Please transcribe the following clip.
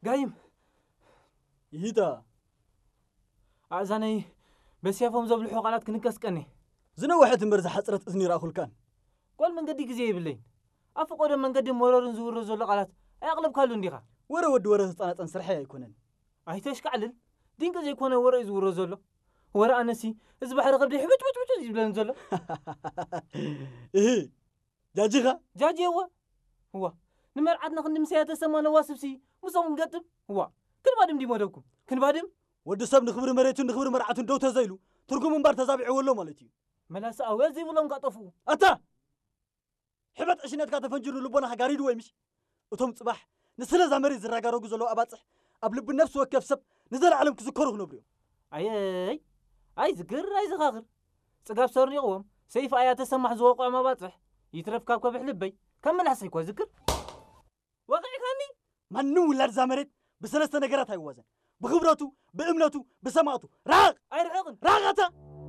ጋይም ይሂታ ኣእዛነይ በስያፎም ዘብልሑ ቃላት ክንቀስቀኒ። ዝነወሐት እምበር ዝሓፅረት እዝኒ ይረኣኹልካን። ጓል መንገዲ ግዜ የብለይን። ኣብ ፈቆዶ መንገዲ መረርን ዝውረ ዘሎ ቃላት ኣያቕለብካሉ እንዲኻ። ወረ ወዲ ወረ ተፃናፀን ስርሐይ ኣይኮነን። ኣይተሽካዕልል። ድንቂ ዘይኮነ ወረ እዩ ዝውረ ዘሎ። ወረ ኣነሲ እዚ ባሕሪ ከብደይ ሕብጭ ብጭ ብጭ እዩ ዝብለኒ ዘሎ። እህ ጃጂኻ ጃጅ የዋ እዋ ንመርዓትና ክንዲ ምሳያ ተሰማ ነዋስብሲ ምስኦም ንገጥም እዋ ክንባድም ድዩ መደብኩም ክንባድም። ወዲ ሰብ ንኽብሪ መሬቱን ንኽብሪ መርዓቱን ደው ተዘይሉ ትርጉም እምባር ተዛቢዕዎ ኣሎ ማለት እዩ። መላሲ ኣውያት ዘይብሎም ካጠፍኡ ኣታ ሕበጥ ዕሽነትካ ተፈንጅሩ ልቦናኻ ጋሪድዎ ይምሽ። እቶም ፅባሕ ንስለ እዛ መሬት ዝረጋረጉ ዘለዉ ኣባፅሕ ኣብ ልቢ ነፍሲ ወከፍ ሰብ ንዘለዓለም ክዝከሩ ክነብሩ እዮም። ኣየይ ኣይዝክር ኣይዘኻኽር ጽጋብ ሰርኒቕዎም ሰይፍ ኣያ ተሰማሕ ዝወቕዖም ኣባፅሕ ይትረፍ ካብ ከብሕ ልበይ ካብ መላሕሰይ እኳ ዝክር ወቒዕካኒ። ማንም ውላድ እዛ መሬት ብሰለስተ ነገራት ኣይዋዘን። ብኽብረቱ፣ ብእምነቱ፣ ብሰማእቱ። ራቕ ኣይርሕቕን ራቕ ኣታ